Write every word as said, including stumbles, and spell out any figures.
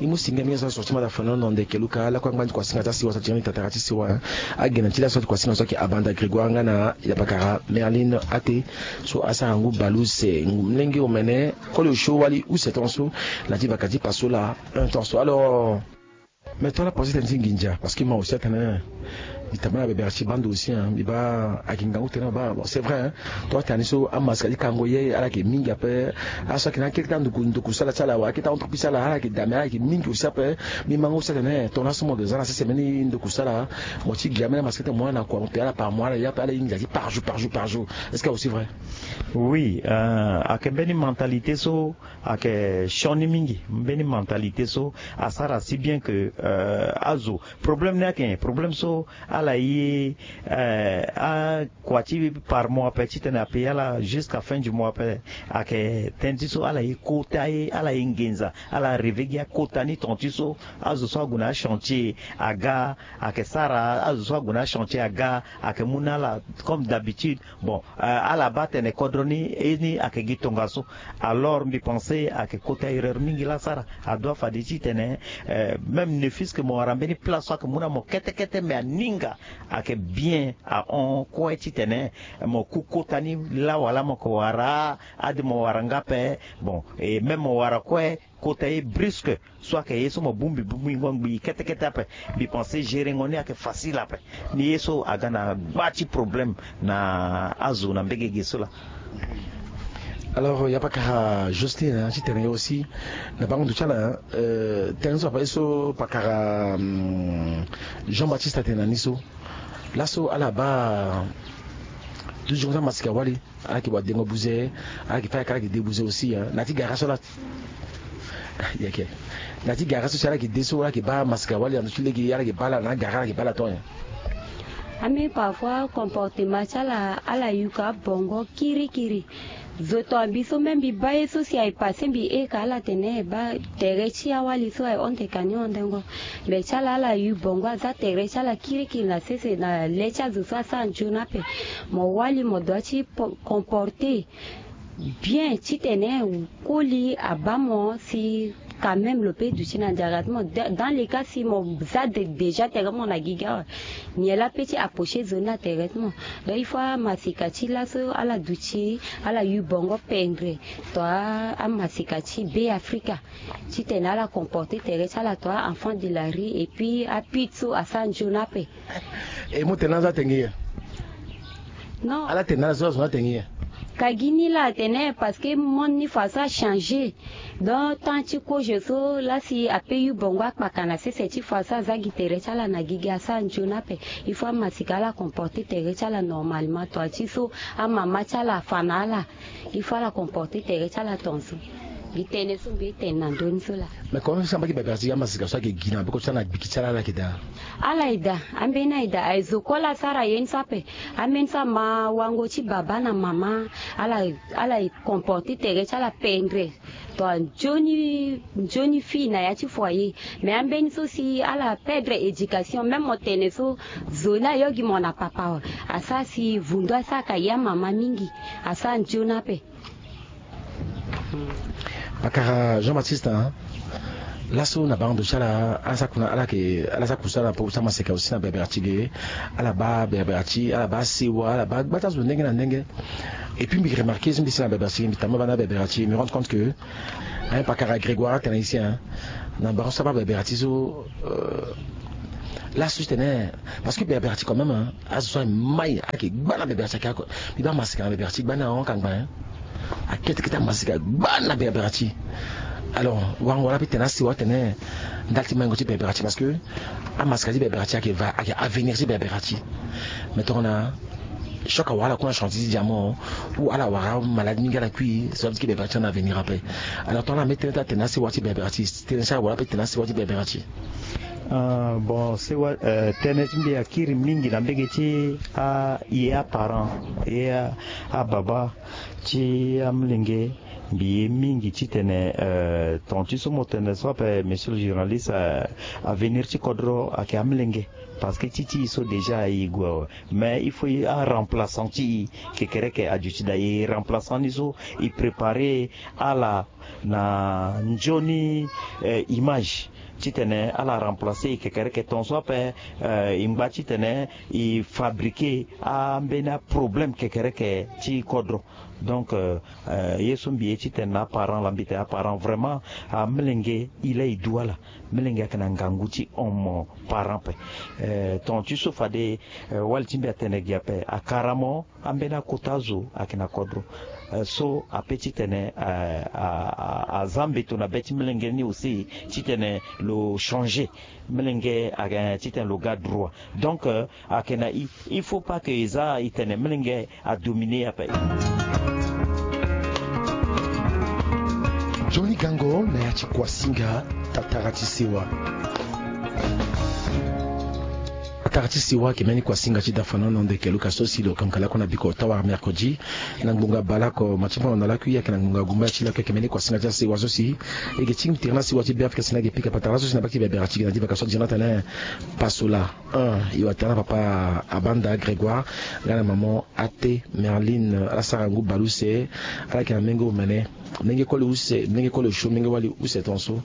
Ni mu singa mingi so asorti mata fano na ndeke luka lakue angba ni kuasinga ti asiwa so ati tingani tatara ti siwa. Agena ti laso ati kuasinga so ayeke Abanda Grégoire nga na yapakara Merline Ate, so asara ngu baleuse ngu mlenge omene. Koli osio wali use tongaso. Na ti baka ti paso laa un tongaso alors. Mais to ala pase tënë ti nginza parce que mo aussi atene mbi tambula na bebere ti bando aussi, hein, mbi baa ayeke ngangu tënë mo baa. Bon, c'est vrai, hein. To atene ni so amasika ti kango ye ala yeke mingi ape. Ala so ayeke na akete kete anduku nduku sala ti ala wa akete entreprise ti ala ala yeke dame ala yeke mingi aussi ape. Mbi mango aussi atene tongana so mo za na sese mbeni nduku sala, mo ti gi ambeni amasika ti mo na kua mo pe ala par mois ala ya ape ala ye nginza ti par jour par jour par jour. Est-ce que aussi vrai? Oui, euh, ayeke mbeni mentalité so ayeke sioni mingi. Mbeni mentalité so asara si bien que, euh, azo problème ni ayeke nyen? Problème so ala ye, euh, akua ti par mois ape titene apaye ala jusqu'à fin du mois ape. Ayeke tënë ti so ala ye kota ye ala ye nginza ala reve gi akota ni tonga ti so azo so ague na achantier aga ayeke sara azo so ague na achantier aga ayeke mu na ala comme d'habitude. Bon, euh, ala baa atene kodro ni e ni ayeke gi tongaso. Alors mbi pense ayeke kota erreur mingi laa asara. Adoit fade titene, euh, même ne fût-ce que mo wara mbeni place so ayeke mu na mo kete kete mais aninga ayeke bien ahon kue titene mo ku kota ni laa wala mo yeke wara ade mo wara nga ape. Bon, et même mo wara kue kota ye brusque so ayeke ye so mo bongbi bongbi ngo ngbii kete kete ape. Mbi pense gérengo ni ayeke facile ape. Ni ye so aga na gba ti problème na azo na mbege ge so laa. Alors ya pakara Justine, hein, ti tene ye aussi na bango ndo ti ala, hein, euh, tënë so ape so pakara, hum, Jean Baptiste atene na ni so laso ala baa duti gongo ti amasika wali. Ala yeke wadengo buze, ala yeke fa ayeke ala yeke de buze aussi, hein. Na ti gara so ala yeke na ti gara so si ala yeke de so ala yeke baa masika wali na ndo ti lege ala yeke baa ala na gara ala yeke baa ala tonga. Ami parfois comportement ti ala ala yuka bongo kirikiri. Zo to ambi so même mbi baa ye so si aye passe mbi eka ala tene baa tere ti awali so aye honte ka ni hondengo. Mais ti ala ala yu bongo aza tere ti ala kirikiri na sese na le ti azo so asara nzoni ape. Mo wali mo doit ti comporter bien titene koli abaa mo si quand même lo pe duti na nzara ti mo. Dans le cas si mo za déjà tere ti mo na gigi awe, nyen laa pe ti approcher zo ni na tere ti mo? Donc il faut amasika ti laso ala duti ala yu bongo pendre to amasika ti Be Afrika titene ala comporter tere ti ala to a enfant de la rue et puis apit so asara nzoni ape. E mo tene na azo atenge ye? Non. Ala tene na ala so azo ni atenge ye? Ka gi ni laa atene parce que monde ni façon achanger. Donc temps ti kozo so laa si ape yu bongo akpaka na sese ti façon aza gi tere ti ala na gigi asara nzoni ape. Il faut amasika ala comporter tere ti ala normalement to ati so amama ti ala afa na ala. Il faut ala comporter tere ti ala tongaso. Gi tënë so mbi ye tene na ndö ni so laa. Mais comment ça mba ki bebere ti amasika so ayeke gi na boko ti ala na gbiki ti ala ala yeke daa? Ala ye daa. Ambeni aye daa aye zo kue laa asara ye ni so ape. Ambeni so ama wango ti baba na mama ala ala ye comporter tere ti ala pendre. To anzoni nzoni fille na ya ti foyer. Mais ambeni so si ala perdre éducation même mo tene so zo ni ayo gi mo na papa awe. Asara si vundu asara ka ya mama mingi. Asara nzoni ape. Pakara Jean Baptiste, hein. Laso na bango ndo ti ala ala sara kuna ala yeke ala sara kusala na poko ti amaseka aussi na bebere ti ge. Ala baa bebere ti ala baa sewa ala baa gba ti azo ndenge na ndenge. Et puis mbi remarquer so mbi si na bebere ti ge mbi tamba baa na bebere ti ge mbi rendre compte que, hein, pakara Grégoire atene ici, hein. Na bango so abaa bebere ti so, euh, laso ti tene parce que bebere ti quand même, hein, azo so aye mai ayeke gba na bebere ti ake ako. Mbi baa maseka na bebere ti gba ni ahon kangba, hein. Akete kete amasika gba na bebere ti. Alors wango wala mbi tene asiwa atene ndali ti maingo ti bebere ti parce que amasika ti bebere ti ayeke va ayeke avenir ti bebere ti. Mais tongana choc awara ala ku na chantier ti diamant ou ala wara malade mingi ala kui so ti bebere ti na avenir ape. Alors tongana mbi tene ti atene asiwa ti bebere ti tene ti awara mbi tene asiwa ti bebere ti. Ah, bon sewa, euh, tënë ti mbi akiri mingi na mbege ti aye aparent ye ababa ti amolenge. Mbi ye mingi titene, euh, ton ti so mo tene so ape monsieur le journaliste, euh, avenir ti kodro ayeke amolenge. Parce que ti ti e so déjà e gue awe. Mais il faut a remplaçant ti e kekereke aduti daa. E remplaçant ni so e préparer ala na nzoni image titene ala remplacer e kekereke. Tongaso ape e ngba titene e fabriquer ambeni aproblème kekereke ti kodro. Donc ye so mbi ye titene na aparent laa mbi tene aparent vraiment, amelenge e laa e du ala. Melenge ayeke na ngangu ti hon mo parent ape. Tonga ti so fade wali ti mbi atene gi ape akara mo. Ambeni akota azo ayeke na kodro so ape titene aza mbeto na be ti melenge ni aussi titene lo changer. Melenge ayeke titene lo ga droit. Donc ayeke na i, il faut pas que e za e tene melenge adominer ape. Johnny Gango na ya ti kuasinga. Tatara ti sewa. Tatara ti sewa ayeke mbeni kuasinga ti dafanono ndeke luka so si lo kamkala oko na biko tawara mercredi na ngbonga baleoko ma ti mbono na lakui ayeke na ngbonga gumba ti lakui ayeke mbeni kuasinga ti asewa so si e ge tingbi tere na sewa ti beafrika si na ge pika patara laso si na baki bebera ti ge na di baka so di na tene pasola. E watara papa abanda grégoire nga na maman ate merline ala sara ngu baleuse. Ala yeke na menge omene menge koli use menge koli osio menge wali use tonso.